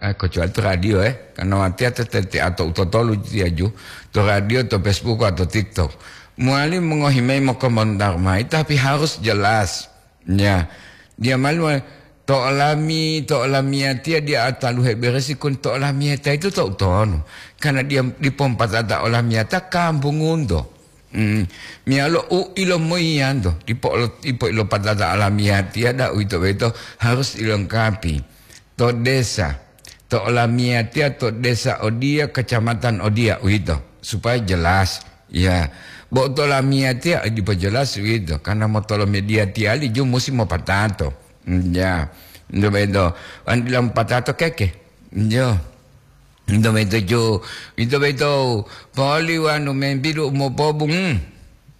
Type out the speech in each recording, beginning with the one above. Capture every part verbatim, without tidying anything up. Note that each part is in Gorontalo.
Eh, kecuali to radio, eh. Karena watiya tete atau utotolu tiaju. To radio, to Facebook, atau TikTok. Mowali mongohi mayi mokomentar mayi, tapi harus jelas. Ya. Dia malu to olami, to olamiyatiya dia ataluhe beresi kun to olamiyata itu to utonu. Karena dia dipompatata olamiyata kampung unto. Hmm. Miyalo u ilomoyiyanto, dipo olo-, dipo ilopatata olamiyatiya da uwito boyito harus dilengkapi. To desa, to olamiyatiya to desa odiya, kecamatan odiya, uwito, supaya jelas. Ya, bo to olamiyatiya dipo jelas uwito, karena motolo media tiyali ju musi mopatato. Hmm, ya, ito boyito, wan dila mopatato keke. Yo. Ito boyito ju, ito boyito, poli wanu membidu mopobung.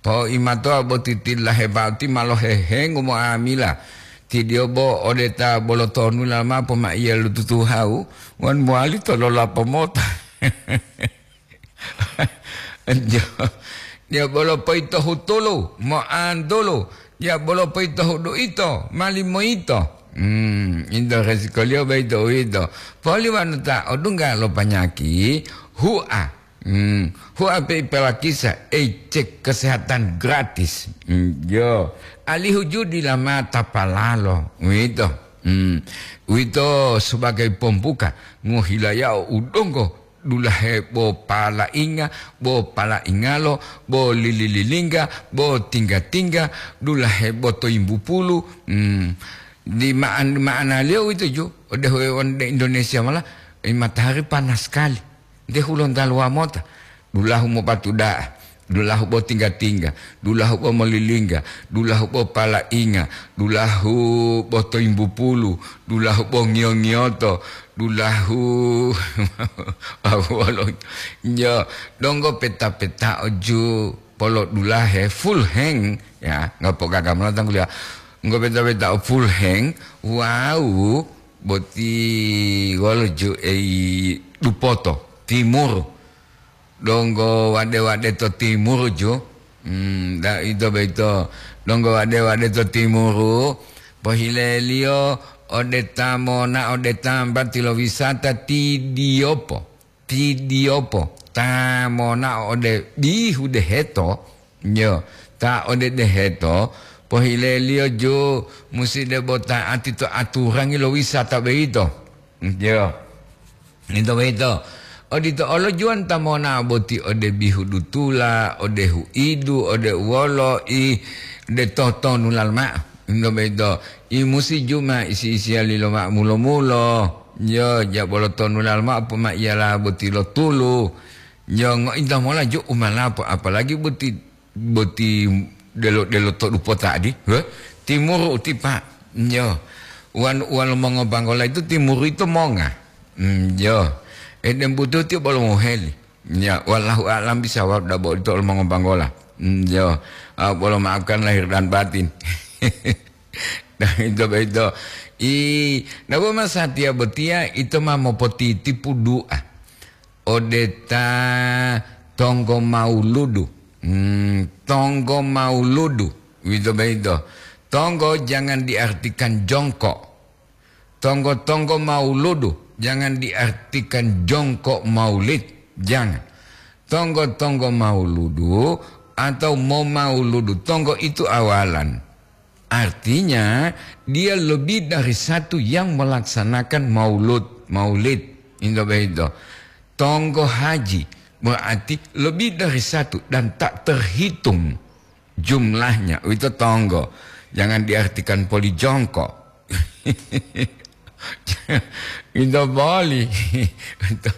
Po imatoa boti tila hebati ma lohehengu moamila. Tidio bo ode ta bolo tonu lama pomaiya lututuhau, wan mowali to lolapo mota. Jo, dia bolo poito hutulu, moantulu, dia bolo poito hudu ito, mali moito. Hmm, ito resikoliyo boyito uwito. Poli wanu ta odungga lo panyaki, hua. Hmm, hua pe ipalakisa, ei, cek kesehatan gratis. Hmm, yo, alihu ju dila mata palalo, uwito. Hmm, uwito sebagai pembuka, ngohilayao udonggo, dulahe bo palainga, bo palaingalo, bo lili-lilingga, bo tingga-tingga, dulahe bo toyimbu pulu. Hmm, di ma'an-, ma'analiyo uwito ju, ode huwewon de Indonesia mola, eh, matahari panas sekali. Nte hulontaluwa mota, dulahu mopatu da'a, dulahu bo tingga-tingga, dulahu bo molilingga, dulahu bo palainga, dulahu bo toyimbu pulu, dulahu bo ngiyo-ngiyoto, dulahu awolo, yo, donggo peta-petao ju polodulahe full hang, ya, ngopo gaga mola tangguliya. Ngopo peta-petao full hang, wau boti wolo ju ei dupoto, timur. Donggo wade-wade to timuru ju. Hmm, da-, ito boyito. Donggo wade-wade to timuru, pohileliyo ode ta monao ode tambati lo wisata ti Diyopo. Ti Diyopo. Ta monao ode bihu deheto, yo, ta ode deheto, pohileliyo ju musi debo ta'ati to aturangi lo wisata boyito. Yo. Ito boyito. Odito olo juwan ta monao boti ode bihu dutula, ode huidu, ode uwolo, i, de totonulal ma'o. Ito boyito. I musi juma isi-isiyali lo ma'o mulo-mulo. Yo, jabolo tonulal ma'o pomaiyala boti lo tulu. Yo, ngointa mola ju umalapo, apalagi boti boti delo-delo to dupota adi, he? Timuru uti, Pak. Yo. Wan, wal mongobanggola itu timuru itu monga. Hmm, yo. Edem butuh ti bolo moheli. Ya, wallahu a'lam bisawab dabo itu mongobanggola. Hmm, yo. Ah, bolo maafkan lahir dan batin. Nah, itu, itu. I, nabo masatiya botiya itu ma mopotitipu du'a. Ode ta tonggo mauludu. Hmm, tonggo mauludu. Uwito boyito. Tonggo jangan diartikan jongkok. Tonggo-tonggo mauludu jangan diartikan jongkok maulid. Jangan. Tonggo-tonggo mauludu atau momauludu. Tonggo itu awalan. Artinya, dia lebih dari satu yang melaksanakan maulud, maulid. Indo begitu. Tonggo haji berarti lebih dari satu dan tak terhitung jumlahnya. Itu tonggo. Jangan diartikan poli jongkok. Pinto boli. Pinto,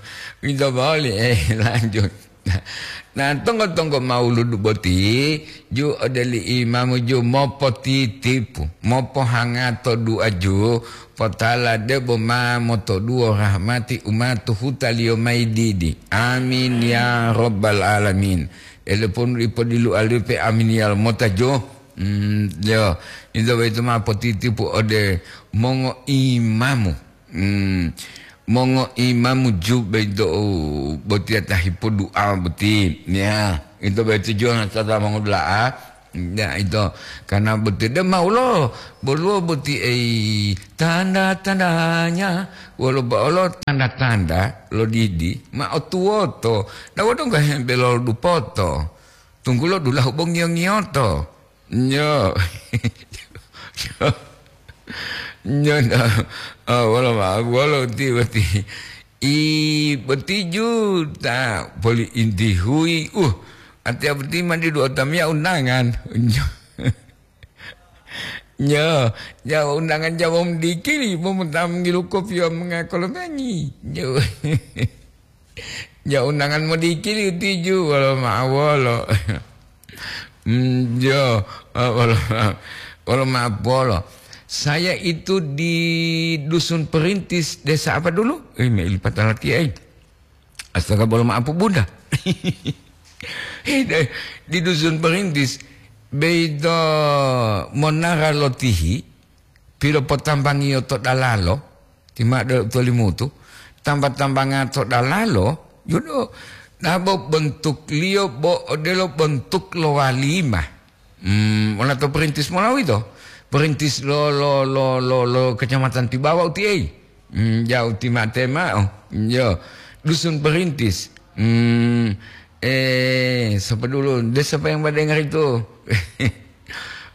pinto boli. Eh, lanjut. Nah, tonggo-tonggo mauludu boti, ju odeli imamu ju mopotitipu, mopohangato du'a ju, potala debo ma motoduwo rahmati umatu hutaliyo mayi didi. Amin ya rabbal alamin. Ele ponu ipodilu alipe amin ya mota ju. Hmm, yo, ito boyito ma potitipu ode mongoimamu. Hmm, mongoimamu ju boyito botiya ta hipodu'a boti. Ya, ito boyito ju tata mongodula'a. Ya, ito, karena boti de maulo, boluwo boti ei tanda-tandanya, wolo bo olo tanda-tanda lo didi, ma otuwoto, dawo donggo hembe lo dupoto, tunggulo dulahu bo ngiyo-ngiyoto. Nyo. Nyo, nyo, oh, wolo ma-, wolo ti boti. I boti juta poli inti hui. Uh, atia boti mandi dua tamia undangan. Nyo. Nyo, ya undangan jawa mendikili, bo mutam ngilu kopi wa mengakolomengi. Nyo. Ya undangan modikili utiju, wolo ma'o wolo. Hmm, yo, eh, wolo, wolo ma'o wolo. Saya itu di Dusun Perintis, desa apa dulu? Eh, me ilipata latiya, eh. Astaga, bolo maaf, Bunda. Hei, deh, di Dusun Perintis, beito monara lotihi, pilopotambangiyo to dalalo, ti ma'o de u tolimutu, tamba-tambanga to dalalo, yudo, dabo bentukliyo bo odelo bentuk lo walima. Hmm, mona to perintis mola uwito? Perintis lo, lo, lo, lo, lo Kecamatan Tibawa utiei. Hmm, jauh ti mate ma'o. Yo, Dusun Perintis. Hmm, eh, sapa dulu? Desa apa yang pada dengar itu?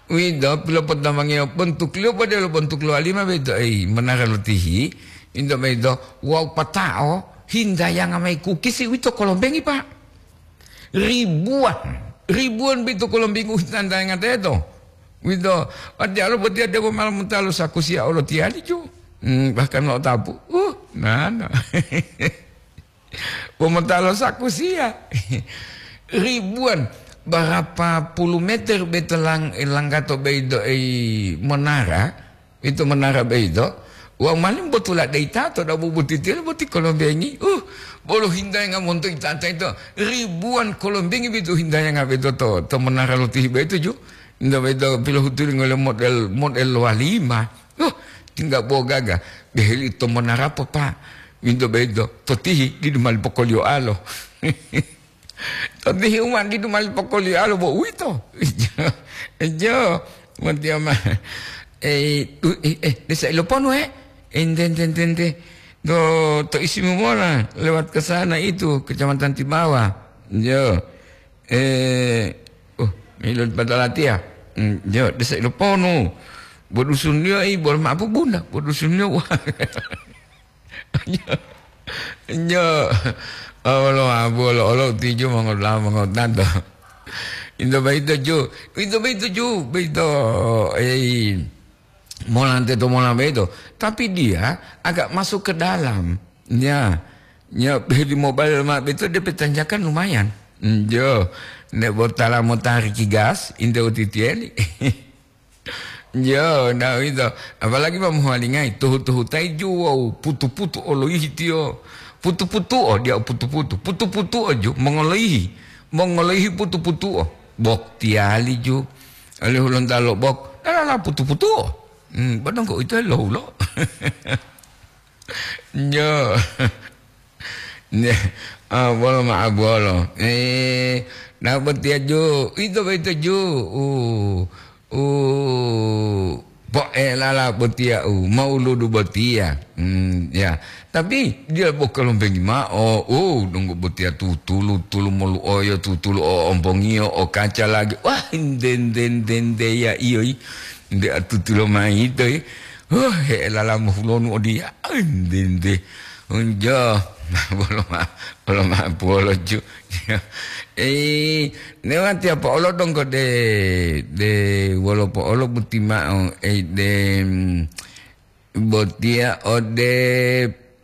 Wido, pilopotambangiyo bentuk liyo pada lo bentuk lo alima beto, eh, menara lotihi. Indo beto, wau patao, hindayanga mai kukisi wito kolombengi, Pak. Ribuan, ribuan beto kolombengi u hindayanga teto. Wito, watiya lo botiya debo malam mutalo sakusiya olo tiyali ju. Hmm, bahkan lo tapu. Uh, nana. Pomotalo sakusiya. Ribuan, berapa puluh meter beto lang-, langgato beido ei menara, itu menara beido, wau malim botula dei tato da bubutitilo boti kolombengi. Uh, bolo hindayanga monto itata itu, ribuan kolombengi beto hindayanga beto to, to menara lotihi beto ju. Inda beto pilohutuli ngole model, model walima. Uh, tingga bogaga. Beheli to menara po, Pak. Winto beto, totihi didu mali pokoliyo alo. Totihi uma didu mali pokoliyo alo bo uwito. Jo, jo, motiya ma. Eh, u-, eh, eh, desa Iloponu, eh? Ente, ente, ente, ente. To, to isimu mola, lewat ke sana itu, Kecamatan Tibawa. Jo. Eh, oh, milo di Patalatiya. Hmm, jo, desa Iloponu. Bo dusun liyo, eh, bolo mapu Bunda, bo dusun liyo. Wah. Nyo. Olo, olo, olo, tiju mongola, mongotanto. Into baito ju, into baito ju, baito, eh, mola ante to mola baito. Tapi dia agak masuk ke dalam. Ya, ya, di mobile ma beto dia petanjakan lumayan. Njo, ne botala mo tariki gas, inte utitieli. Jo, nah itu. Apalagi pamuhalingai, tuhu-tuhutai ju wau putu-putu oloihi tiyo. Putu-putu o, dia putu-putu. Putu-putu o ju, mongoloihi. Mongoloihi putu-putu o. Bok tiali ju. Oleh hulonta lo bok. Lalala putu-putu o. Hmm, bodong kok itu lo hulo. Nyo. Nyo. Ah, bolo ma'a bolo. Eh, na botiya ju. Ito boyito ju. Uh, uh, po'elala botiya u. Mauludu botiya. Hmm, ya. Tapi dia bo kalombengi ma'o. Oh, donggo botiya tutulu, tulu molu'oyo, tutulu o ompongiyo, o kaca lagi. Wah, nde, nde, nde, nde, ya iyo, i. Nde atutulo mayi to, i. Huh, he'elala mohulonu odiya. Ai, nde, nde. Unjo. Bolo ma-, bolo ma-, bolo ju. Eh, newati apa olo donggo de, de wolo po olo buti ma'o, eh, de, mm, botiya ode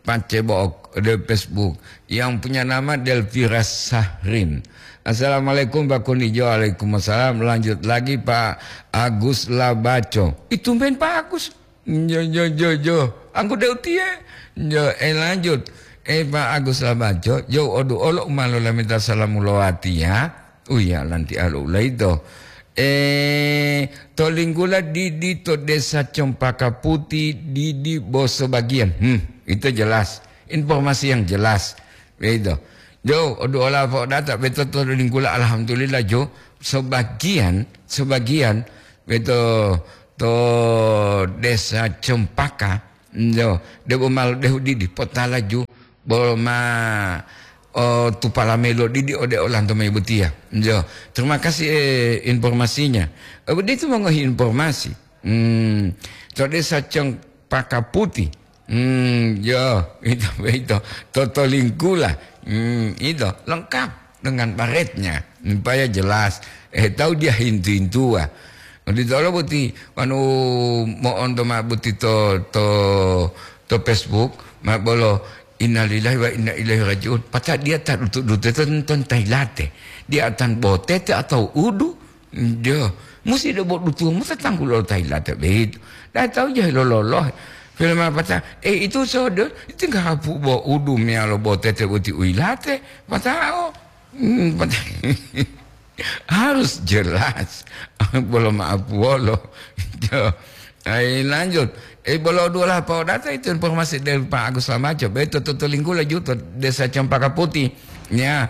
Pace Bo'ok, ode Facebook, yang punya nama Delvira Sahrin. "Assalamualaikum, Pak Kunijo." "Waalaikumsalam." "Lanjut lagi, Pak Agus Labaco." Itu main Pak Agus. Jo, jo, jo, jo. Angku de utiye. Jo, eh, lanjut. Eh, Pak Agus Labaco, jo odu olo umalo lamita salamu lowati ya. Uya lanti alo ulaito. Eh, to linggula didi to Desa Cempaka Putih, didi boso bagian. Hmm, itu jelas. Informasi yang jelas. Begitu. Jo, odu ola po data beto to linggula, alhamdulillah, jo. Sebagian, sebagian beto to Desa Cempaka, yo, debo malo dehu didi, potalaju, bolo ma, o, tupala melo didi ode olanto mai botiya. Yo, terima kasih, eh, informasinya. Eh, begitu mongohi informasi. Hmm, to Desa Cempaka Putih. Hmm, yo, itu, itu. Toto Lingkula. Hmm, itu, lengkap dengan baretnya. Supaya jelas. Eh, tahu dia hintu-hintua. Ditolo boti, anu, mo'onto ma boti to, to, to Facebook, ma bolo, "Innalillahi wa inna ilaihi raji'un." Pata dia tak dutu-dutu ton, ton tailate. Dia atan botete atau udu. Yo, musi debo dutu mo tatanggu lo tailate begitu. Dah tahu jahil loloh. Film apa ta? Eh, itu sodo, itu nggak hapu bo udu meyalo botete boti uilate. Patao. Hmm, pata-, harus jelas. Bolo maaf wolo. Yo. Ai, lanjut. Eh, bolo dua lah, Pak Odata, itu informasi dari Pak Agus Lamaco. Betul, toto Linggula juto, Desa Cempaka Putih. Ya.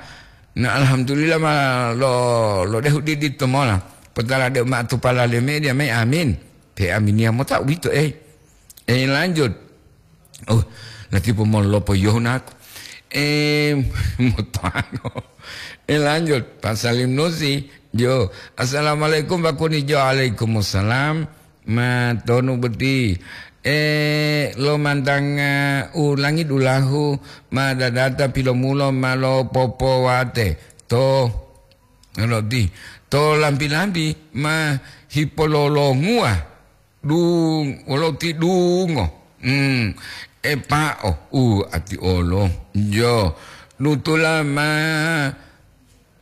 Nah, alhamdulillah ma lo, lo dehu didi to mola. Potala de ma tupala le media mai, amin. Pe aminia mota uwito, eh. Eh, lanjut. Oh, lati pomolopo yohunaku. Eh, motoano. Eh, lanjut. Pak Salim Nusi. Jo. "Assalamualaikum, Pak Kuni." Jo, "Waalaikumsalam." Ma tonu boti. Eh, lo mantanga ulangi dulahu, ma dadata pilomulo ma lo popowate. To, roti. To lambi-lambi ma hipololonguwa. Dung, wolo ti dungo. Hmm. Epa'o, u ati olo. Jo. Dutula ma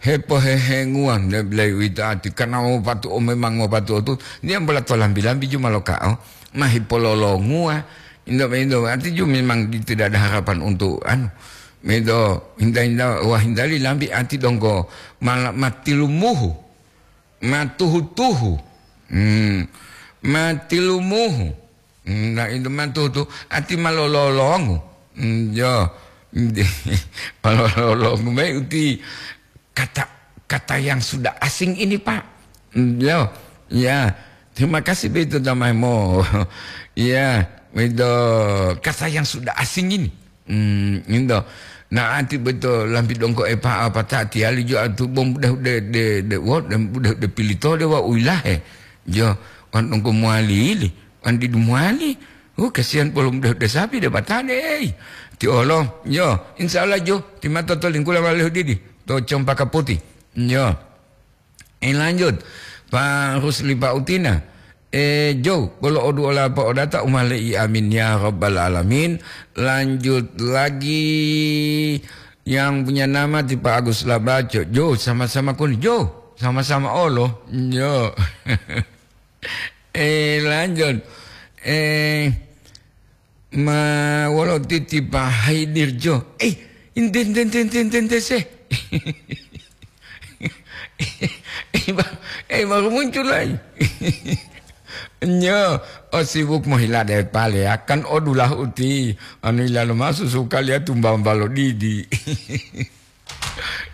hepohehenguwa, nde bilai uwito ati, karena wopatuo memang wopatuo tu, dia bola to lambi-lambi ju ma loka'o, ma hipololonguwa, indo, indo, ati ju memang di-, tidak ada harapan untuk, anu, medo, hinda-hinda, wah, hindali lambi ati donggo, mala-, matilumuhu, matuhu-tuhu, hmm, matilumuhu, hmm, na indo matuhu-tuhu, ati malololongu, hmm, jo, malololongu, mai uti, kata, kata yang sudah asing ini, Pak. Hmm, yo, ya. Terima kasih begitu damai mo. Ya, itu kata yang sudah asing ini. Hmm, itu. Nah, anti betul lampi dongko epa apa tak tiali jo atu bom udah, udah, de, de, wot, udah, udah pilih to de wa uilahe. Jo, wan dongko muali ili, wan didu muali. Uh, kasihan belum de, de sapi de batade. Ti olo, yo, insya Allah jo, ti mata to lingkula walehu didi. To Cempaka Putih. Yo. Eh, lanjut. Pak Rusli Pak Utina. Eh, Jo, bolo odu ola Pak Odata umale'i, amin ya rabbal alamin. Lanjut lagi yang punya nama ti Pak Agus Labaco. Jo, sama-sama kun. Jo, sama-sama olo. Jo. Eh, lanjut. Eh, Ma wolo titipa Haidirjo. Eh, ente, ente, ente, ente, ente, ente, se. Eh, ba-, eh, baru muncul lagi. Nyo, oh, sibuk mohila de pale, akan odulah uti. Anu ilalo masu sukali ya tumba balo didi.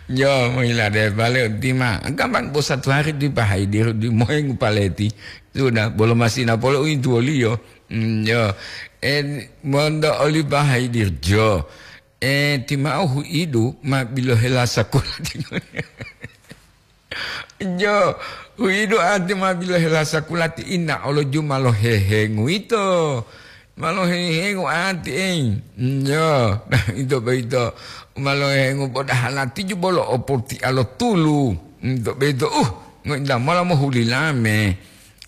Yo, mohila de pale uti ma. Gampang bo satu hari di pahai di, di mohengu paleti. Sudah, bolo masina polo uintu oliyo. Mm, yo. Eh, mondo oli pahai dirjo. Eh, timau huidu ma bilohela sakola. Jo, huidu ati ma bilohela sakola ti ina olo juma lo hehengu ito. Ma lohehengo ati, ei. Njo, ito boyito, ma lohehengo podahala tiju bolo oporti'a lo tulu. Ito boyito, uh, ngointa mola mohuli lame.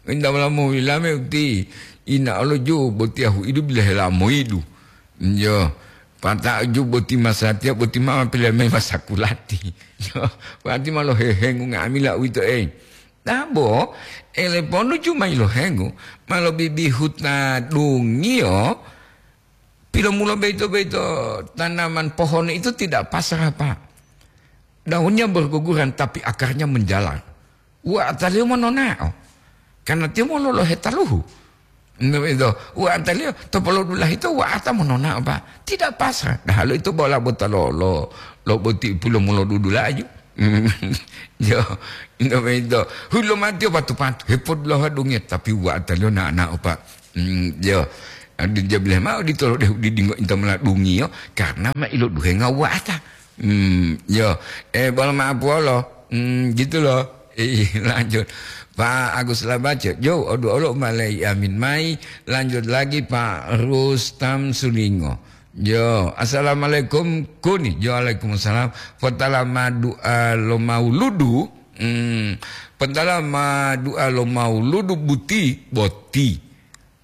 Ngointa mola mohuli lame uti, ina olo ju botiya huidu bila hela moidu. Njo, pata'u ju boti masatiya boti mama pila me masakulati. Njo, wati ma lohehengo nga'amila uwito, ei. Dabo, ele ponu cuma ilohengu, ma lobibihuta dungiyo, pilomulo boyito-boyito tanaman pohon itu tidak pasrah, Pak. Daunnya berguguran, tapi akarnya menjalar. Wa'ataliyo mononao, karena tiyo mololohe taluhu. Nto ito, wa'ataliyo to polodulahi to wa'ata mononao, Pak. Tidak pasrah. Nah, lo ito bola bota lo, lo, lo boti pilomulo dudulaju. Yo, ino boyito. Hulo matiyo patu-patu, hepodulohuwa dungiya, tapi wa'ataliyo na'o-na'o, Pak. Mm, yo. Adi jabileh ma'o ditolo dehu didinggo inta mola dungiyo, karena ma iloduhenga wa'ata. Mm, yo. Eh, bolo ma'apuwolo. Mm, gitu loh. Eh, lanjut. Pak Agus Labaco, jo, odu olo malai amin mai. Lanjut lagi Pak Rustam Sulingo. Yo, assalamualaikum, kuni. Yo, waalaikumsalam. Potala ma du'a lo mauludu. Hmm, potala ma du'a lo mauludu buti, boti.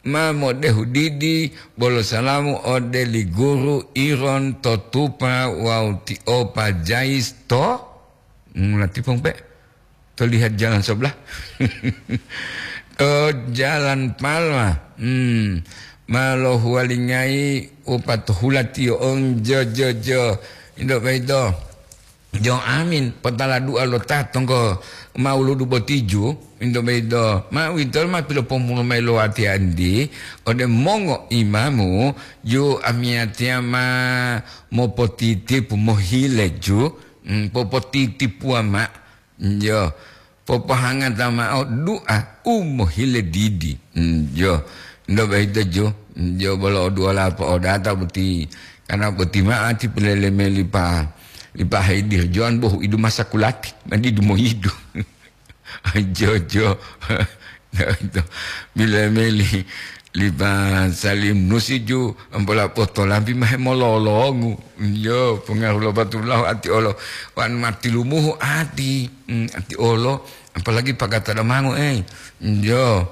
Ma modehu didi, bolo salamu ode li guru Iron to Tupa wawu ti Opa Jais to? Ngulati pong pe? To lihat jalan sebelah. To jalan Palma. Hmm. Ma lohuwalingayi upatuhula tiyo on jo, jo, jo. Indo boyito. Jo amin, potala du'a lo ta tonggo mauludu botiju. Indo boyito. Ma uwito ma pilopomulo mayi lo watiya andi. Ode mongo imamu, ju amiyatiya ma mopotitipu mohile ju. Hmm, popotitipuwa ma. Yo, popohangata ma'o du'a u mohile didi. Mm, yo, ndo boyito ju, yo bolo oduwola po'odata boti, karena boti ma'ati pileleme lipa, lipa haidir joan bohu idu masa kulati, ma didu moyidu. Jo, jo. Ito, bila meli lipa salim nusi ju, ampola potolampi mahe mololongu. Yo, pengaruh lo batulahu ati olo. Wan mati lumuhu ati. Hmm, ati olo. Apalagi pagata damangu, eh. Yo.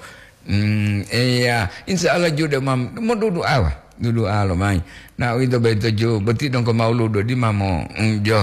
Hmm, iya. Insya Allah ju de mam, mo dudu awa. Dudu alo mai. Na uwito boyito ju, boti dongko mauludu di mamo. Hmm, jo.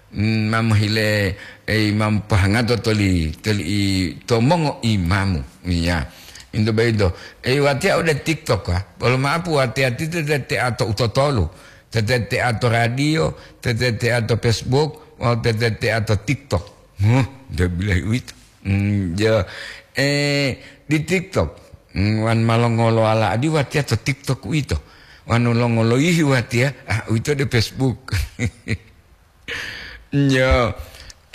Mm, ma mohile, ei, ma mopohangato toli, toli i, to mongo imamu. Iya. Into boyito. Ei, watiya ode TikTok, ha? Bolo ma'apu watiya ti te, te, te ato utotolu. Te, te, te ato radio, te, te, te ato Facebook, wawu te, te, te ato TikTok. Huh, nte bilahi uwito. Mm, ja, eh, di TikTok. Mm, wan ma longolo ala adi watiya to TikTok uwito. Wan longolo yihi watiya, ah, uwito de Facebook. Yo,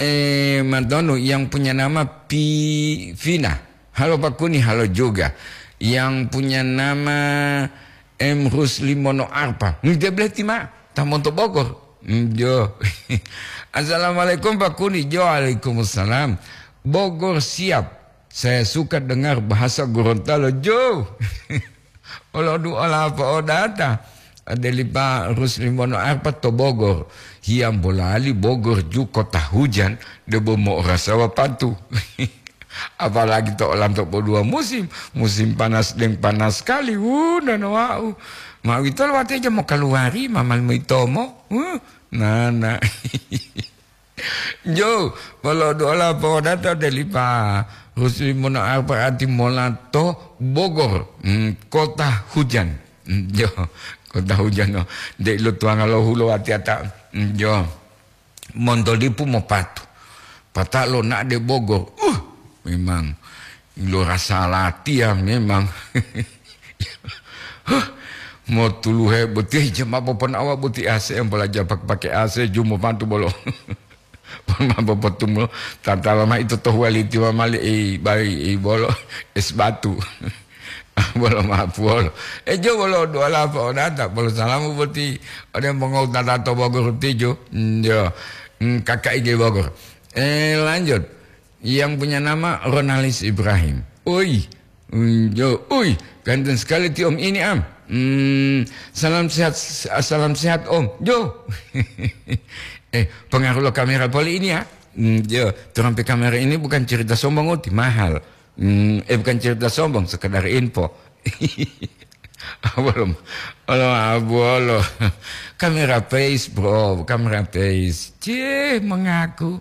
eh, Mardonu yang punya nama Pi-, Vina. Halo Pak Kuni, halo juga. Yang punya nama M Rusli Mono Arpa. Hmm, dia berarti ma, ta monto Bogor. Hmm, jo. Assalamualaikum Pak Kuni. Jo, waalaikumsalam. Bogor siap. Saya suka dengar bahasa Gorontalo. Jo. Olo du'a lapo odata. Adelipa Rusli Mono Arpa to Bogor. Hiyambo lali Bogor ju kota hujan, debo mo'orasa wapantu. Apalagi to olanto podua musim, musim panas deng panas sekali, wuh, nana wa'u. Ma uwito lo watiya jamo kaluwari, ma mali moyitomo, wuh, nana. Jo, bolo duola po'odata delipa Rusli Mono Arpa ati mola to Bogor, mm, kota hujan. Mm, jo, kota hujan, no. Nde ilotuwanga lo hulo watiyata, mm, jo. Monto lipu mopatu. Pata'o lona'o de Bogor. Uh, memang lo rasa latiya memang. Huh, motuluhe boti jama poponawa boti A C, yang bolaja pak-, pake A C, jumo pantu bolo. Pon ma popotumulo, tatala ma ito to huwaliti ma mali ei, bai ei bolo, es batu. Bolo ma puwolo. E jo bolo duwala po'odata, bolo salamu boti ode mongowutata to Bogor tiju. Mm, jo. Mm, K K I G Bogor. Eh, lanjut. Yang punya nama Ronalis Ibrahim. Oi. Mm, jo. Oi, ganteng sekali ti Om ini, Am. Mm, salam sehat, salam sehat, Om. Jo. Eh, pengaruh lo kamera poli ini ya. Mm, jo, terampi kamera ini bukan cerita sombong, oti, mahal. Hmm, eh, bukan cerita sombong, sekedar info. Belum. Belum, ah, bolo. Kamera face, bro, kamera face. Cih, mengaku.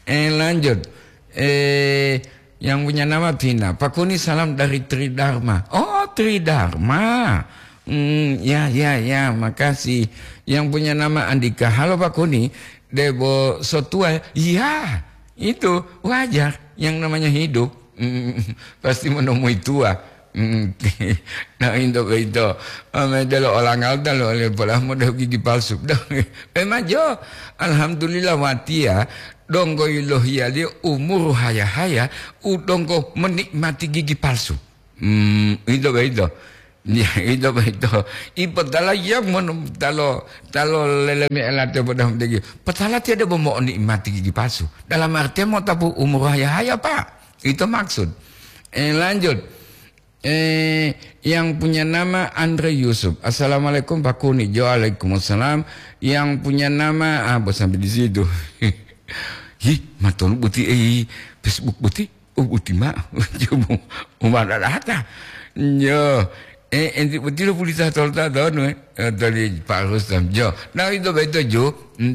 Eh, lanjut. Eh, yang punya nama Vina. Pak Kuni, salam dari Tridharma. Oh, Tridharma. Hmm, ya, ya, ya, makasih. Yang punya nama Andika. Halo, Pak Kuni. Debo sotua, ya, itu wajar. Yang namanya hidup. Mm, pasti menemui tua. Mm. Nah, into boyito. Ame delo olangal dalo le pola mo de gigi palsu. Memang jo, alhamdulillah watiya, donggo yilohiyaliyo umuru haya-haya u donggo menikmati gigi palsu. Hmm, ito boyito. Ya, ito boyito. Ipotala ya mon-, talo, talo lelemi elate bodah degi. Potala tiada bo monikmati gigi palsu. Dalam artian motapu umuru haya-haya, Pak. Itu maksud. Eh, lanjut. Eh, yang punya nama Andre Yusuf. "Assalamualaikum, Pak Kuni." "Waalaikumsalam." "Yang punya nama," ah, bos sampai di situ. "Hi, matonu boti, eh, Facebook boti?" "Oh, boti ma." Coba, umar data. Yo, eh, enti boti lo pulita tolta tonu, eh. Eh, tadi Pak Rustam. Yo, nah, itu betul, Ju.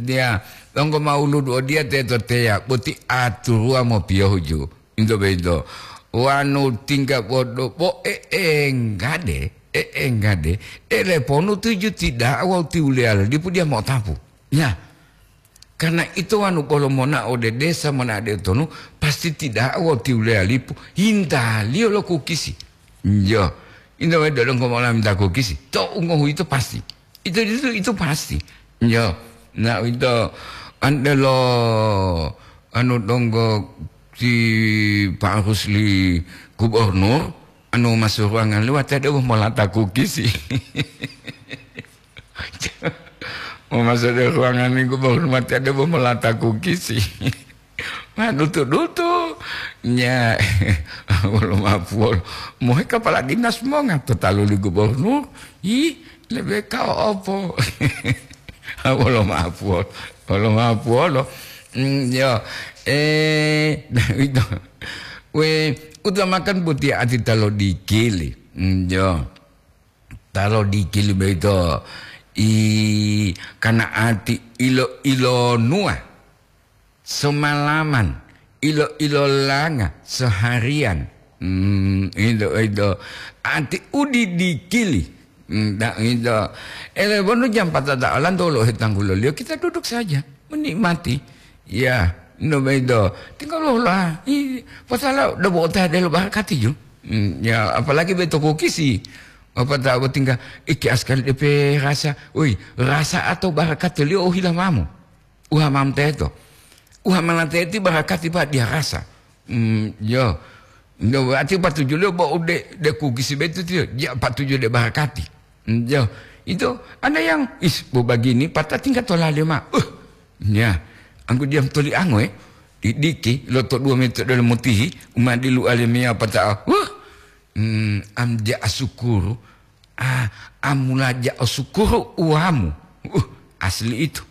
Dia, tonggo mauludu dia teto teya, boti aturua mopiyohu, Ju. Into boyito, wanu tingga bodo bo e'engade, e'engade, ele ponu tuju tida'a wawu tiwuliyalo dipu diya mo'otapu. Ya, karena ito wanu bolo monao ode desa, monao ode tonu, pasti tida'a wawu tiwuliyalipu hintaliyo lo kukisi. Iyo, into boyito donggo mola minta kukisi, to ungohu ito pasti. Itu, itu, itu pasti. Yo, nah, itu andelo anu donggo si Pak Rusli gubernur, anu masuk ruangan liwat ada molata kukisi. Mau masuk dari ruangan ini gubernur mati ada molata kukisi. Ma dutu-dutu. Nya, wolo mapuwolo. Mohe kapala dinas monga to talu li gubernur. Ih, lebe kao opo? Wolo mapuwolo. Wolo mapuwolo. Mm, yo. Eh, nah, itu. We, utamakan boti ati talo dikili. Mm, yo. Talo dikili boyito i kana ati ilo-ilonuwa. Semalaman, ilo-ilolanga, seharian. Hmm, itu, itu. Ati udidikili. Hmm, da, itu. Ele bonu jam patata alanto lo hetangguloliyo, kita duduk saja, menikmati. Ya, no bedo. Tinggal lo lah. I, pasala udah bawa teh delo barakati ju. Hmm, ya, apalagi beto kokisi. Apa tak tinggal, iki askal depe rasa. Ui, rasa atau barakati liyo ohila mamu. Uha mam teto. Uha mana teti barakati, Pak, dia rasa. Hmm, yo. No, ati patuju lo bo ude de kugisi betu tiyo. Dia patuju de barakati. Hmm, yo. Itu ada yang, is, bo bagini, patah tingkat tola lima. Uh, ya. Anggu diam toli ango, eh. Di diki, lo to dua meter dalam mutihi, uma di lu alemia patah. Uh, hmm, am dia asukuru. Ah, amula ja'o sukuru uwamu. Uh, asli itu.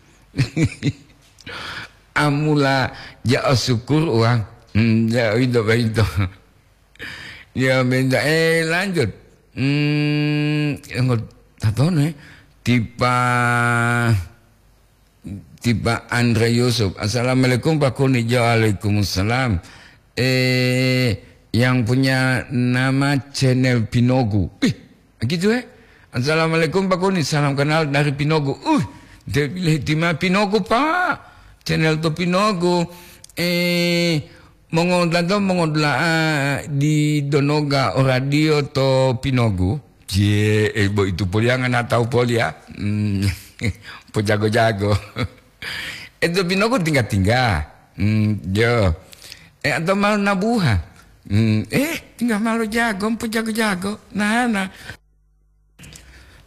Amula ja'o sukuru uwamu. Hmm, ya, itu, itu. Ya, benda. Eh, lanjut. Hmm, yang tatono, eh. Tipa, tipa Andre Yusuf. "Assalamualaikum, Pak Kuni." "Waalaikumsalam." Eh, yang punya nama channel Pinogu. Ih, gitu, eh. "Assalamualaikum, Pak Kuni. Salam kenal dari Pinogu." Uh, dia pilih tima Pinogu, Pak. Channel to Pinogu. Eh, mongodato mongodula'a di Donoga o radio to Pinogu. Cie, eh, bo itu poliangan atau polia. Hmm, pojago-jago. Itu Pinogu tingga-tingga. Hmm, yo. Eh, atau malu nabuha. Hmm, eh, tinggal malu jago, empu jago-jago. Nah, nah.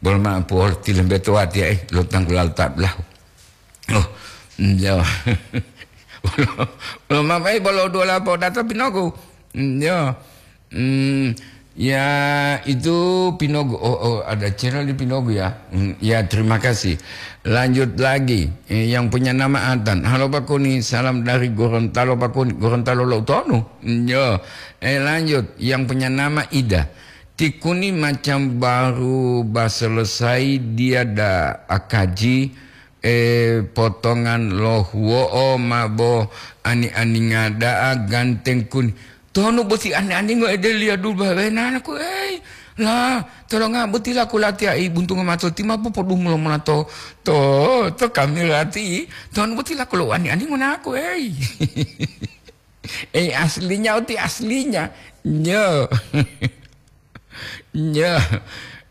Bol ma puol tilembe to wati, eh, lo tanggulal tablah. Oh, hmm, yo. Bolo, bolo ma, eh, bolo dua lapo data Pinogu. Hmm, yo. Hmm, ya, itu Pinogu. Oh, oh, ada channel di Pinogu ya. Hmm, ya, terima kasih. Lanjut lagi. Eh, yang punya nama Atan. "Halo Pak Kuni, salam dari Gorontalo Pak Kuni." Gorontalo lo tonu. Hmm, yo. Eh, lanjut. Yang punya nama Ida. "Ti Kuni macam baru ba selesai dia da akaji, eh, potongan lo huwo'o ma bo ani-aninga da'a ganteng Kuni." Tonu boti ani-aningo ede liya dulu bawenanaku, ei, la, tolonga boti laku latiya i buntungo mato ti ma popodumu lo mona to, to, to kamera ti. Tonu boti laku lo ani-aningo naku, ei. Eh, aslinya oti aslinya. Nyo. Nyo.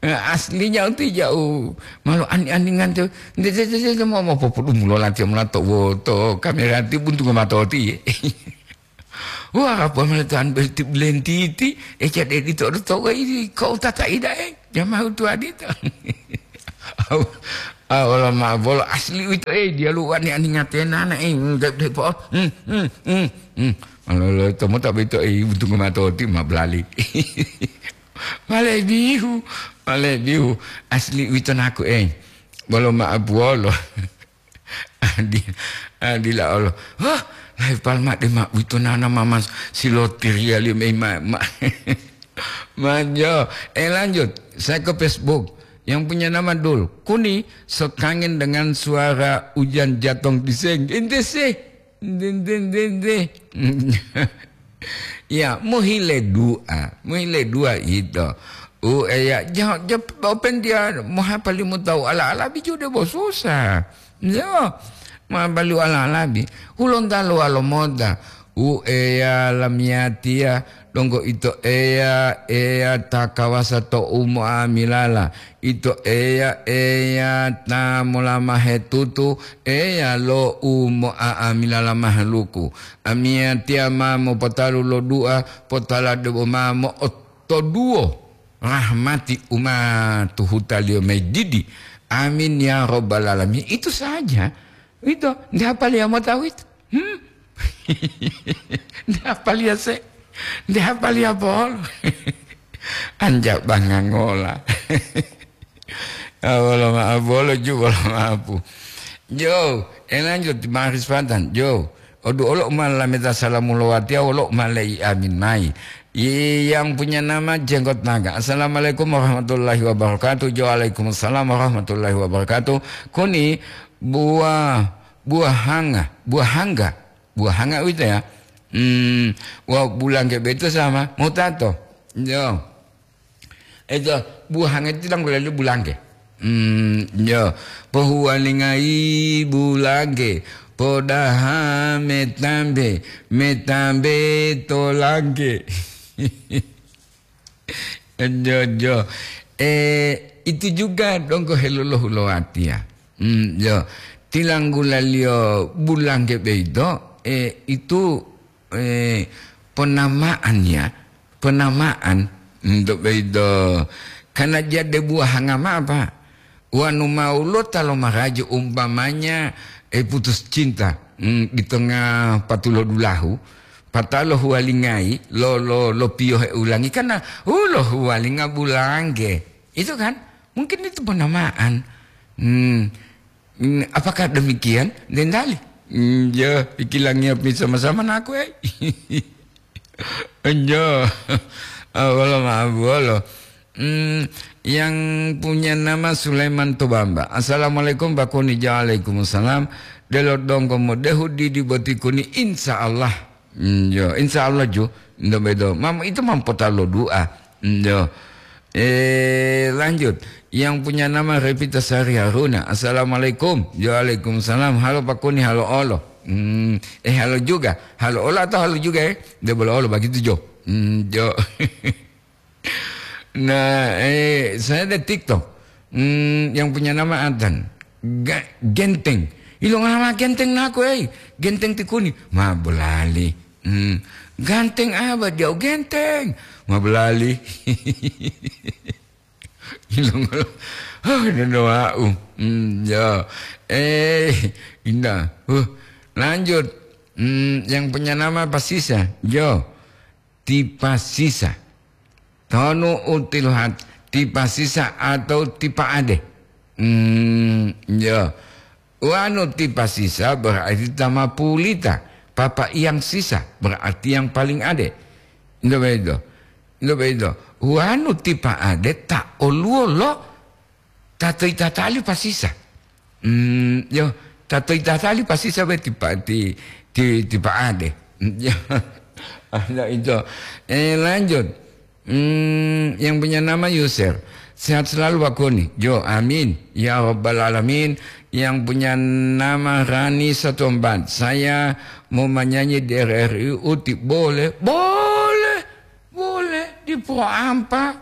Eh, aslinya uti ja'u malo ani-aningan tu. Nde, nde, nde, nde, mo, mo popodumulo latiya molato woto kamera ti buntu mato ti. Wah, apa mala tuan berarti belentiti, eh, cade di todo to, eh, ini kau tata ida, eh, jamaah tua di to. Au, au, wala ma bolo asli uito, eh, dia lu wani ani ngatena na, eh, enggak deh, po. Hmm, hmm, hmm, hmm. Alo, lo, tomo tak beto, eh, buntu mato ti ma belali. Male bihu, male bihu. Asli uito naku, eh. Bolo ma abuolo. Adi-, adila Allah. Hah, lai palma de ma uito nana mama silotiria liyo mei ma, ma. Manjo. Eh, lanjut. Saya ke Facebook. Yang punya nama Dul. Kuni, sekangen dengan suara ujan jatong di seng. Ente sih. Ente, ente, ente, ente. Ya, mohile dua. Mohile dua ito. U eya, ja-, ja-, open dia mohapali mutau ala-ala biju de bo susah. Yo, ma balu ala-ala bi. Hulonta lo alo mota. U eya lamiyatiya, donggo ito eya, eya ta kawasa to umo amilala. Ito eya, eya ta molamahe tutu, eya lo umo amilala mahaluku. Amiyatiya ma mopotalu lo dua, potala debo ma mo'otoduwo. Rahmati umatu hutaliyo mayi didi. Amin ya rabbal alamin. Itu saja. Itu, nde hapaliya mota uwito? Hmm? Nde hapaliya se? Nde hapaliya polo? Anja bangangola. Ah, wolo ma'apu, wolo ju, wolo ma'apu. Jo, eh, lanjut, Maris Fatan. Jo, odu olo ma lameta salamu lo watiya, wolo ma lei amin mai. I-, yang punya nama Jenggot Naga. Assalamualaikum warahmatullahi wabarakatuh. Jo, waalaikumsalam warahmatullahi wabarakatuh. Kuni buah, buah hanga, buah hangga, buah hangga uwito ya. Hmm, wa bulangge beto sama, mutato. Jo. Eto, buhangeti dang lelu bulangge. Hmm, yo. Pohuwalingayi bulangge, podaha metambe, metambe tolangge. Jo, jo. Eh, itu juga donggo helolohu lo watiya. Hmm, yo. Tilanggulaliyo bulangge beito, eh, itu eh, ponama'an ya, ponama'an, untuk begitu. Karena jade buah hangama apa? Wanu mau lo talo maraji umpamanya, eh, putus cinta, hmm, di tengah patulo dulahu, patalo huwalingai, lo, lo, lo piyohe ulangi, karena, uh, lo huwalinga bulangge. Itu kan? Mungkin itu ponama'an. Hmm. Hmm, apakah demikian? Dendali. Hmm, ya, ikilangiya pi sama-sama naku, eh. Enjo. Ah, wolo ma'abu wolo. Hmm, yang punya nama Sulaiman Tobamba. Assalamualaikum, Pak Kuni. Waalaikumsalam. Delo donggo modehu didi boti Kuni, insya Allah. Hmm, yo, insya Allah ju. Ndo bedo. Mam, itu mampota lo doa. Hmm, yo. Eh, lanjut. Yang punya nama Revita Sari Haruna. Assalamualaikum. Waalaikumsalam. Halo Pak Kuni, halo olo. Hmm, eh, halo juga. Halo olo atau halo juga, eh? Dia boleh olo begitu, Jo. Hmm, Jo. Nah, eh, saya ada TikTok. Hmm, yang punya nama Atan. Ga-, Genteng. Ilo ngama Genteng naku, eh? Genteng ti Kuni. Ma bolali. Hmm. Ganteng apa dia? Genteng. Ma bolali. Ilo ngolo. Oh, dono wau. Hmm, ya. Eh, indah. Uh, lanjut. Hmm, yang punya nama Pasisa. Jo. Tipa sisa. Tonu utiluhat tipa sisa atau tipa ade. Hmm, ya. Wanu tipa sisa berarti tama pulita. Papa yang sisa berarti yang paling ade. Nggak begitu. Nggak begitu. Wanu tipa ade tak oluwo lo Tato itatali pasisa. Hmm, yo, tato itatali pasisa we tipa-, ti-, ti-, tipa ade. Yo, ada itu. Eh, lanjut. Hmm, yang punya nama Yusir. Sehat selalu, Pak Koni. Jo, amin. Ya Rabbal Alamin. Yang punya nama Rani Satu Empat. Saya mau menyanyi di R R I Uti. Boleh? Boleh. Boleh. Di Pro Ampa.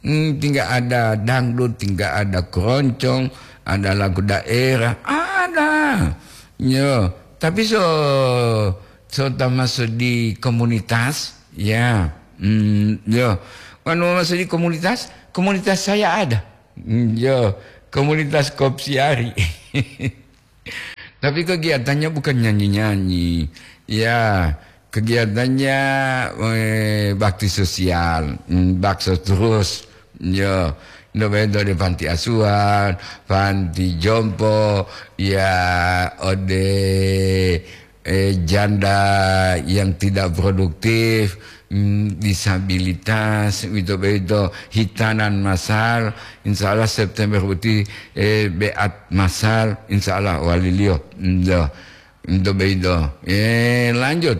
Hmm, tinggal ada dangdut, tinggal ada keroncong, ada lagu daerah, ada. Yo, tapi so so termasuk di komunitas, ya. Hmm, yo. Anu masuk di komunitas, komunitas saya ada. Hmm, yo, komunitas Kopsiari. Tapi kegiatannya bukan nyanyi-nyanyi. Ya, kegiatannya, eh, bakti sosial, mm, bakso terus. Ya, no bento di panti asuhan, panti jompo, ya, ode, eh, janda yang tidak produktif, mm, disabilitas, uwito boyito hitanan masal, insya Allah September boti, eh, beat masal, insya Allah waliliyo. Ndo, ndo boyito. Eh, lanjut.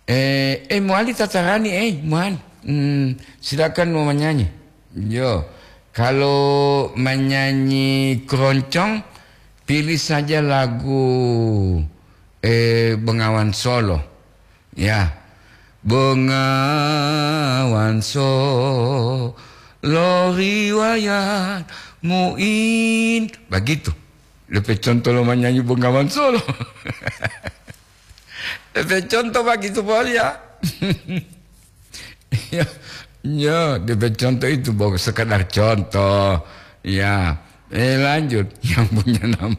Eh, eh, muali tatarani, eh, muali. Hmm, silakan mau menyanyi. Yo, kalau menyanyi keroncong, pilih saja lagu, eh, Bengawan Solo. Ya, Bengawan Solo riwayat muin. Begitu. Lepe contoh lo menyanyi Bengawan Solo. Lepe contoh begitu, Bos, ya. Ya, ya, lepe contoh itu, Bos, sekedar contoh. Ya. Eh, lanjut. Yang punya nama,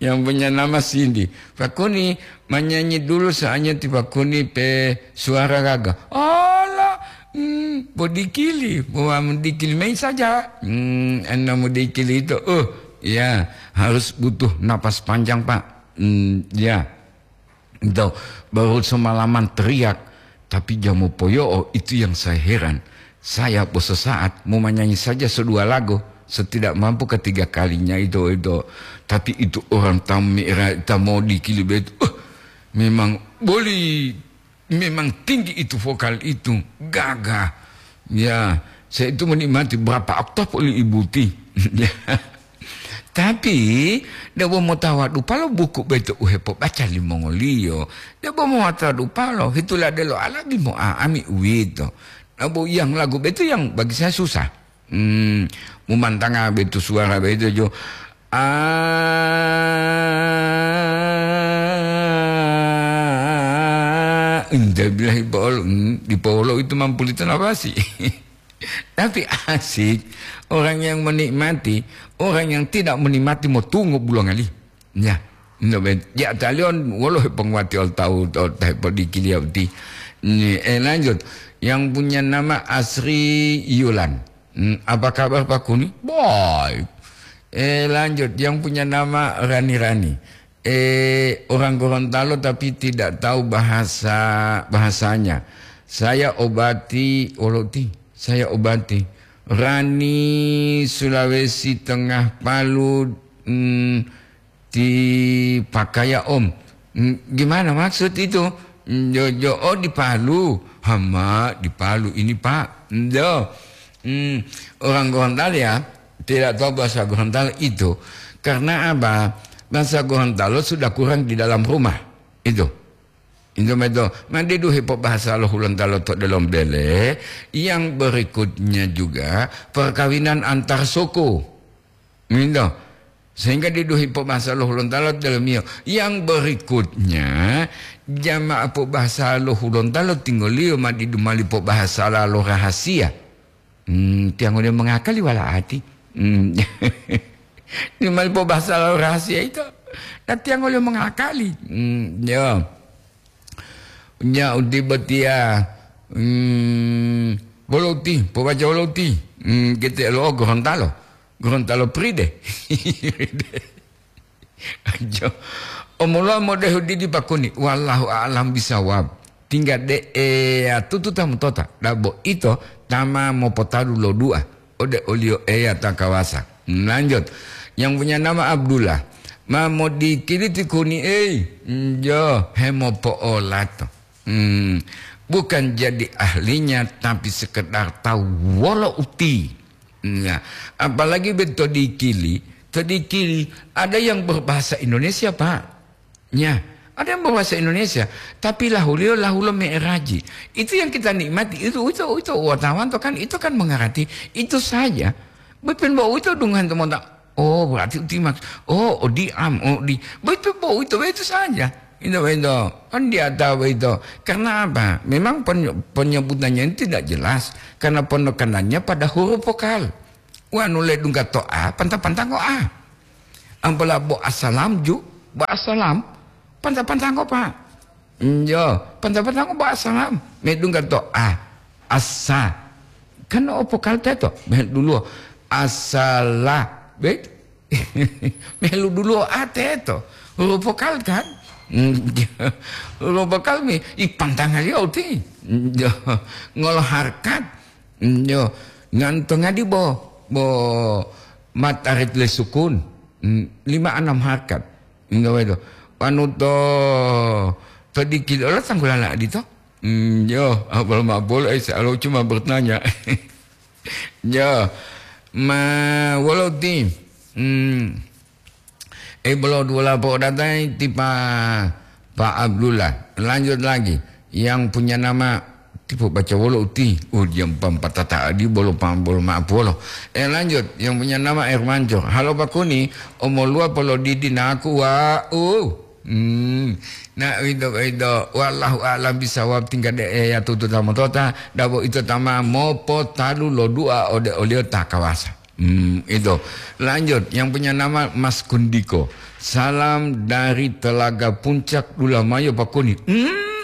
yang punya nama Cindy. Pakuni, menyanyi dulu, soalnya ti Pakuni pe suara gaga. Ala, hmm, bodikili, bodikili main saja. Hmm, anda bodikili itu, uh, ya, harus butuh napas panjang, Pak. Hmm, ya. Ento, baru semalaman teriak, tapi jam mopoyo'o itu yang saya heran. Saya sesaat mau menyanyi saja sedua lagu, setidak mampu ketiga kalinya itu, itu. Tapi itu orang tam-, ta mau dikili betu, uh, memang boleh, memang tinggi itu vokal itu, gagah. Ya, saya itu menikmati berapa oktav oleh Ibu Ti. Tapi, debo motawa dupalo buku beto u hepobaca limongoliyo. Debo motawa dupalo, hitula delo alabi mo'a'ami uwito. Debo yang lagu beto yang bagi saya susah. Hmm, mumantanga beto suara beto jo. Ah, indah billahi pol-, hmm, di polo itu mampu ditanabasi. Tapi asik, orang yang menikmati, orang yang tidak menikmati motungo bulongali. Ya, no ben, ya talion wolo penguati ol tahu to teh podikili ya uti. Ni, eh, lanjut. Yang punya nama Asri Yulan. Hmm, apa kabar Pak Kuni? Baik. Eh, lanjut. Yang punya nama Rani Rani. Eh, orang Gorontalo tapi tidak tahu bahasa, bahasanya. Saya obati, oloti, saya obati. Rani, Sulawesi Tengah, Palu, mm, di Pakaya, Om. Mm, gimana maksud itu? Mm, jo, jo, oh, di Palu. Hama, di Palu ini, Pak. Ndo. Hmm, orang Gorontalo ya, tidak tahu bahasa Gorontalo itu. Karena apa? Bahasa Gorontalo sudah kurang di dalam rumah. Itu. Itu meto. Mandi duhi po bahasa lo Hulontalo to delom bele. Yang berikutnya juga perkawinan antar suku. Minto. Sehingga diduhi po bahasa lo Hulontalo to delom iyo. Yang berikutnya, jamaah po bahasa lo Hulontalo tinggoliyo ma didu mali po bahasa lo rahasia. Hmm, tiang udah mengakali wala ati. Hmm. Di mali po bahasa lo rahasia itu. Nah, tiang udah mengakali. Hmm, ya. Nya uti botia, hmm, bolo uti, po baca bolo uti. Hmm, kita lo Gorontalo. Gorontalo pride. Ajo. Omoloa modehu didi pakuni. Wallahu a'lam bisawab. Tingga de eya tutu ta mutota. Dabo ito tama mopotadu lo dua. Ode oliyo Eya ta kawasa. Lanjut. Yang punya nama Abdullah. Ma modikiliti kuni ei. Njo, hemopo'olato. Hmm. Bukan jadi ahlinya, tapi sekedar tahu wolo uti. Nah, apalagi be to dikili, to dikili ada yang berbahasa Indonesia, Pak. Ya, Ada yang berbahasa Indonesia, tapi lahuliyo lahulo me'eraji. Itu yang kita nikmati. Itu, itu, itu, wartawan to kan, itu kan mengerti. Itu saja. Bepin bo itu dungan teman. Oh, berarti uti maks-, oh, oh, di am, oh, di. Betul, bo itu, itu saja. Itu, itu. Kan dia tahu itu. Karena apa? Memang penye-, penyebutannya ini tidak jelas. Karena penekanannya pada huruf vokal. Wanu le dungga to a, panta-panta ngo a. Ambola bo asalam ju, bo asalam, panta-panta ngo pa. Njo, panta-panta ngo bo asalam. Me dungga to a, asa. Kan o vokal teto, me dulu asala. Be? Melu dulu a teto. Huruf vokal kan? Huruf vokal mi, i pantanga liyo uti. Njo, ngolo harkat. Mm, yo, nganto ngadi bo, bo matarit le sukun. Mm, lima anam harkat. Inga wedo. Wanu to, to dikit ola tanggulala adito. Mm, yo, abal mabol, eh, saya cuma bertanya. Yo, ma, walau ti, mm, Eh, bolo dua lapo datai ti Pa, Pa Abdullah. Lanjut lagi. Yang punya nama, tipu baca wolo uti. Oh, dia pam patata adi bolo pam bolo maaf wolo. Eh, lanjut. Yang punya nama Air Mancur. Halo Pak Kuni, omolua polo didi naku wa, uh. Hmm. Nah, itu, itu. Wallahu a'lam bisawab, tinggal de, eh, ya tutu tamo tota. Dabo itu tama mopo talu lo dua ode olio takawasa. Hmm, itu. Lanjut, yang punya nama Mas Kundiko. Salam dari Telaga Puncak, Dulamayo, Pak Kuni. Hmm,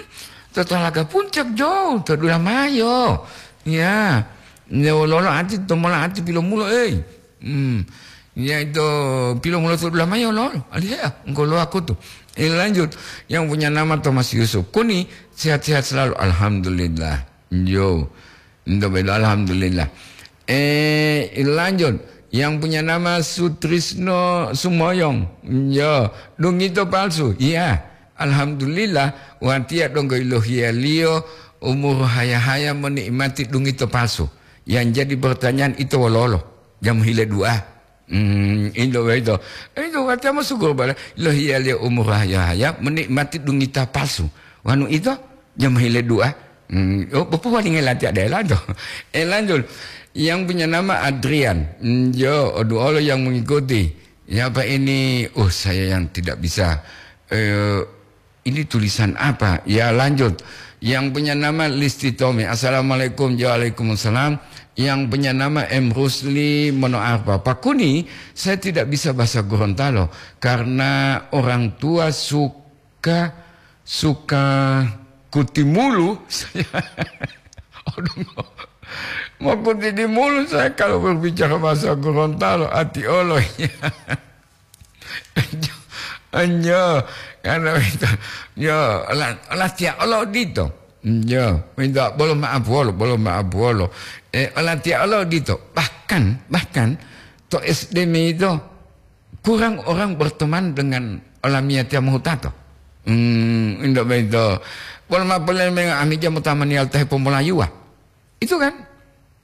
to Telaga Puncak jauh, to Dulamayo. Ya, ya lolo ati, tomola ati pilomulo, eh. Hmm, ya itu pilomulo to Dulamayo, lolo. Alihea, engkau lo aku tuh. Eh, lanjut, yang punya nama Thomas Yusuf. Kuni, sehat-sehat selalu. Alhamdulillah. Yo. Ndo beda, alhamdulillah. Eh, lanjut. Yang punya nama Sutrisno Sumoyong. Yo, dungito palsu. Iya. Alhamdulillah, watiya donggo ilohiyaliyo umur haya-haya menikmati dungito palsu. Yang jadi pertanyaan itu wololo? Jam hile dua. Hmm, indo boyito. Indo watiya ma syukur bala. Lohiyaliyo umur haya-haya, menikmati dungita palsu. Wanu ito, jam hile dua. Hmm, oh, popowalinge latiya dela to. Eh, lanjut. Yang punya nama Adrian. Hmm, yo, oduolo yang mengikuti. Ya, Pak, ini, uh, saya yang tidak bisa. Eh, Ini tulisan apa? Ya, lanjut. Yang punya nama Listi Tommy. Assalamualaikum. Ya, waalaikumsalam. Yang punya nama M Rusli Monoarfa. Pak Kuni, saya tidak bisa bahasa Gorontalo karena orang tua suka, suka kuti mulu. Saya, aduh, mau kuti di mulu saya kalau berbicara bahasa Gorontalo, ati olo. Anjo, karena itu, yo, la-, latiya olo odito. Yo, minta bolo maaf wolo, bolo maaf wolo. Eh, latiya olo odito. Bahkan, bahkan, to S D me itu kurang orang berteman dengan olamiyatiya mohutato. Hmm, indo beto. Bolo maaf bolo menga ami jam utama nial teh pomolayuwa. Itu kan?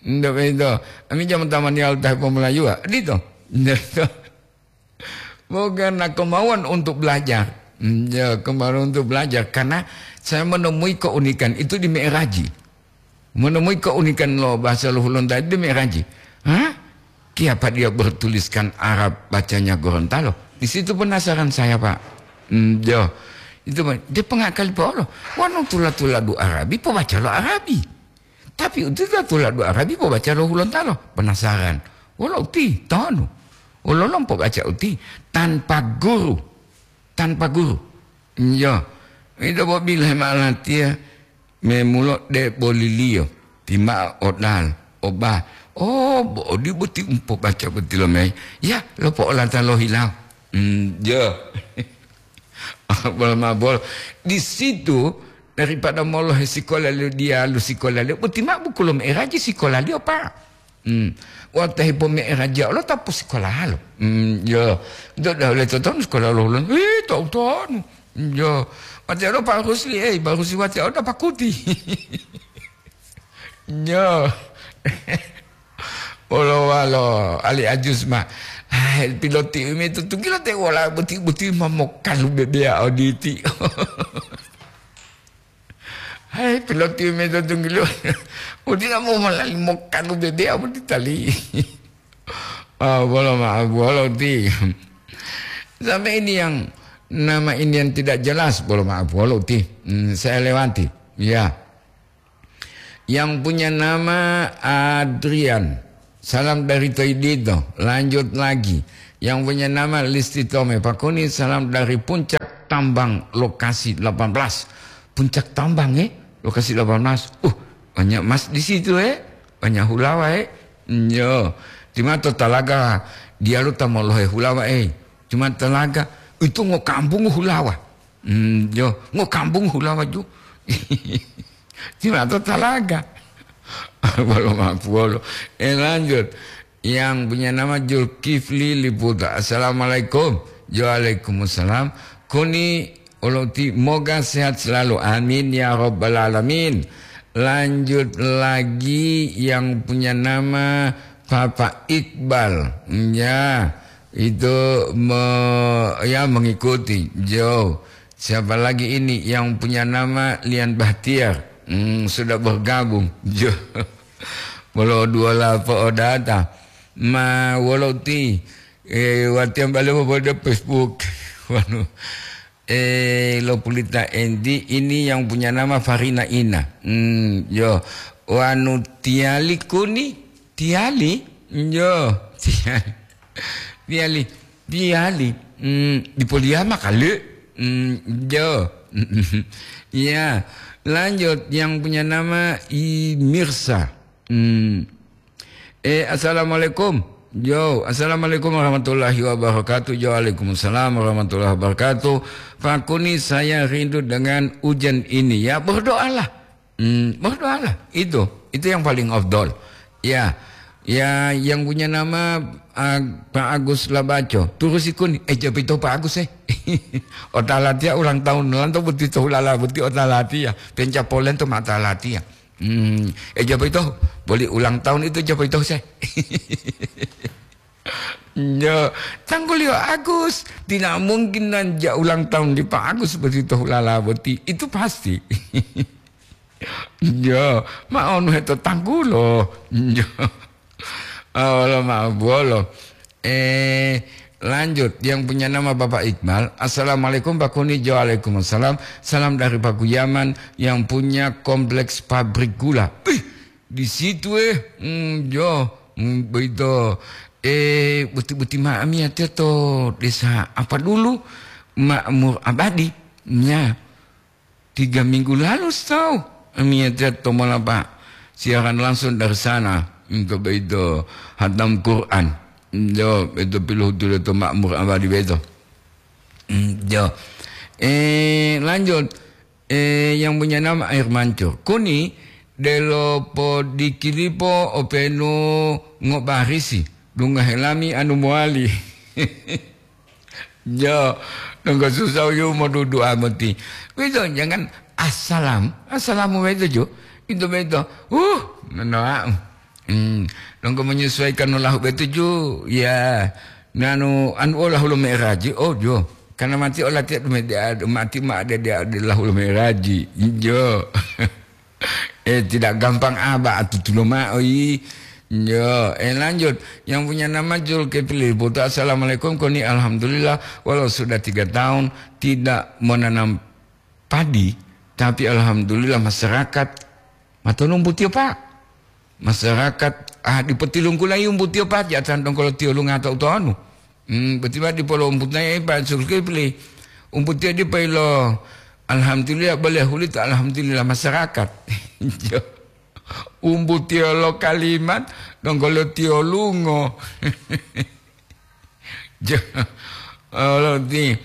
Indo beto. Ami jam utama nial teh pomolayuwa. Dito. Indo beto. Bukan, nah, kemauan untuk belajar. Hmm, ya, kemauan untuk belajar. Karena saya menemui keunikan itu di Mi'raji. Menemui keunikan lo bahasa lo Hulun tadi di Mi'raji. Hah? Kiapa dia bertuliskan Arab, bacanya Gorontalo? Di situ penasaran saya, Pak. Hmm, ya. Itu, Pak. Dia pengakali, Pak, lo. Wanu tula-tula du Arabi, pobaca lo Arabi. Tapi uti ta tula du Arabi pobaca lo Hulontalo. Penasaran. Wolo uti, tonu. Wolo lompo baca uti. Tanpa guru. Tanpa guru. Iyo. Ito bo bilahe ma'o latiya. Memulo de boliliyo. Tima'o odal. Oba. Oh, bo odi boti umpo baca boti lo mei. Ya, lopo olata lo hilau. Hmm, yo. Bol mabol. Di situ, daripada molohe sikola liyo diyalu sikola liyo, boti ma'o buku lo me'eraji sikola liyo, Pak. Hmm. Wata hepo me'eraji olo ta posikolalo. Hmm, yo. Do dah oleh totonu sikola lo hulun. Eh, tau tonu. Yo. Wate olo Pak Rusli, eh, Pak Rusli wate olo pakuti. Nyo. Wolo walo, ali ajus ma. Hai, piloti umi to tunggilo te wola boti-boti ma mokalu bebea oditi. Hai, piloti umi to tunggilo. Udi na mo malali mokalu bebea boti tali. Ah, bolo maaf, bolo ti. Sampai ini yang nama ini yang tidak jelas, bolo maaf, bolo ti. Hmm, saya lewati. Ya. Yang punya nama Adrian. Salam dari Toidito. Lanjut lagi. Yang punya nama Listi Tome. Pakuni, salam dari Puncak Tambang, lokasi delapan belas. Puncak Tambang, eh? Lokasi delapan belas. Uh, banyak emas di situ, eh? Banyak hulawa, eh? Yo. Timato talaga dialu ta molohe hulawa, eh? Cuma talaga itu ngo kampung hulawa. Hmm, yo, ngo kampung hulawa ju. Timato talaga. Bolo mapuolo. Eh, lanjut. Yang punya nama Julkifli Liputa. Assalamualaikum. Waalaikumsalam. Kuni oloti, moga sehat selalu. Amin ya rabbal alamin. Lanjut lagi yang punya nama Papa Iqbal. Ya, itu me-, ya, mengikuti. Jo. Siapa lagi ini yang punya nama Lian Bahtiar? Hmm, sudah bergabung. Jo. Bolo dua lapo odata. Ma wolo ti, eh, watiam bale mo pada Facebook. Wanu. Eh, lo pulita enti ini yang punya nama Farina Ina. Hmm, yo. Wanu tiali kuni, tiali. Yo, tiali. Tiali, tiali. Hmm, di Poliama kali. Hmm, yo. Ya, lanjut yang punya nama I Mirsa. Hmm. Eh, assalamualaikum. Yo, assalamualaikum warahmatullahi wabarakatuh. Yo, waalaikumsalam warahmatullahi wabarakatuh. Pak Kuni, saya rindu dengan hujan ini. Ya, berdoalah. Hmm, berdoalah. Itu, itu yang paling afdol. Ya, ya, yang punya nama, ah, Pak Agus Labaco. Turusi Kuni. Eh, japa ito Pak Agus, eh. Otalatiya ulang tahun lanto boti to hulala boti otalatiya. Pencapolen to matalatiya. Hmm, eh, japa ito, boli ulang tahun itu japa ito, se. Yo, tangguliyo Agus, tidak mungkin nan ja ulang tahun di Pak Agus boti to hulala boti. Itu pasti. Yo, ma onu heto tanggulo. Yo. Olo ma buolo. Eh, lanjut, yang punya nama Bapak Iqbal. Assalamualaikum, Pak Kuni. Jo, waalaikumsalam. Salam dari Pak Guyaman yang punya kompleks pabrik gula. Ih, di situ, eh. Hmm, jo, hmm, begitu. Eh, beti-beti ma'am ya, to desa apa dulu? Makmur Abadi. Ya. Tiga minggu lalu, tahu, amiyatiya tomola, Pak, siaran langsung dari sana untuk begitu hatam Quran. Jo, itu pilohutu to Makmur Abadi beto. Hmm, jo. Eh, lanjut. Eh, yang punya nama Air Mancur. Kuni delo podikilipo openu ngobarisi. Dunga helami anu mowali. Jo, nonggo susah yu modudu'a moti. Wito, jangan assalam, assalamu wito ju. Itu beto. Uh, nonoa. Hmm, nonggo menyesuaikan olahu beto ju. Ya, nanu, anu olahu lo me'eraji. Oh, jo. Karena mati olatiya dume de-, mati ma ade de-, de lahu lo me'eraji. Jo. Eh, tidak gampang aba atutulo ma'o yi. Yo, eh, lanjut. Yang punya nama Zulkifli Putra, "Assalamualaikum, Koni, alhamdulillah, walau sudah tiga tahun tidak menanam padi, tapi alhamdulillah masyarakat matonumbu tiyo, Pak. Masyarakat, ah, dipotilungkulayi umbu tiyo, Pak, jatan dongkolo tiyo lungato utonu." Hmm, boti ma dipo lo umbuto nae Pak Zulkifli. Umbuto dipo ilo, alhamdulillah, boleh hulito, alhamdulillah, masyarakat. Jo. Umbuto lo kalimat, donggo lo tiyo lungo. Jo. Olo ti,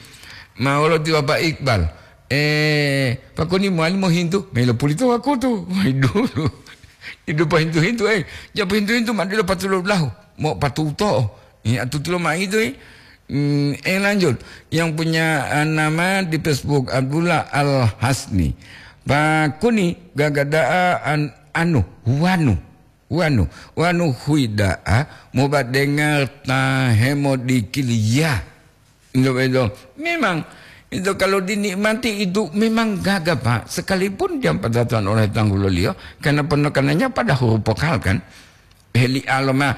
ma olo ti Bapak Iqbal. Eh, Pak Koni mowali mohintu, melo pulito wakutu. Wai dulu. Idu pahintu-hintu, eh. Ja pahintu-hintu, ma dilo patulo lahu. Mo patuto. Iya, tutulo ma itu, eh. Hmm, eh, lanjut. Yang punya, eh, nama di Facebook, Abdullah Al Hasni. Pak Kuni, gagada'a an-, anu, wanu. Wanu, wanu huyi da'a mobadengar ta hemodikiliya. Ito beto. Memang, ito kalau dinikmati itu memang gaga, Pak. Sekalipun dia patatan oleh tangguloliyo, karena penekanannya pada huruf vokal, kan. Heli aloma.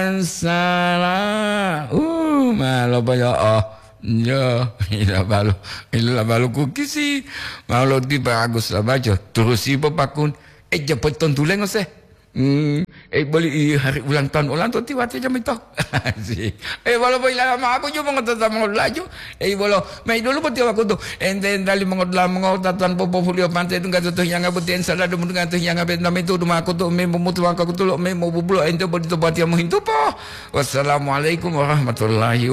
Ansala. Uh, malo pa ya, oh. Ya, ila balu, ila balu kukisi. Mau lo tiba Agus Labajo, terusi popakun. Eh, japo tontulengo se. Hmm, eh, boli i hari ulang tahun ulang to tiwati jam itu. Si. Eh, walaupun ila ma aku juga mengatakan mau laju. Eh, bolo, mai dulu peti waktu tu. Ente entali mengodla mengotatan popo fulio pantai dungga tutuh yang abut yang salah dum dungga tuh yang abet nama itu duma aku tu me memutu aku tu lo me mau bubulo ente bodi to batia muhintu po. Wassalamualaikum warahmatullahi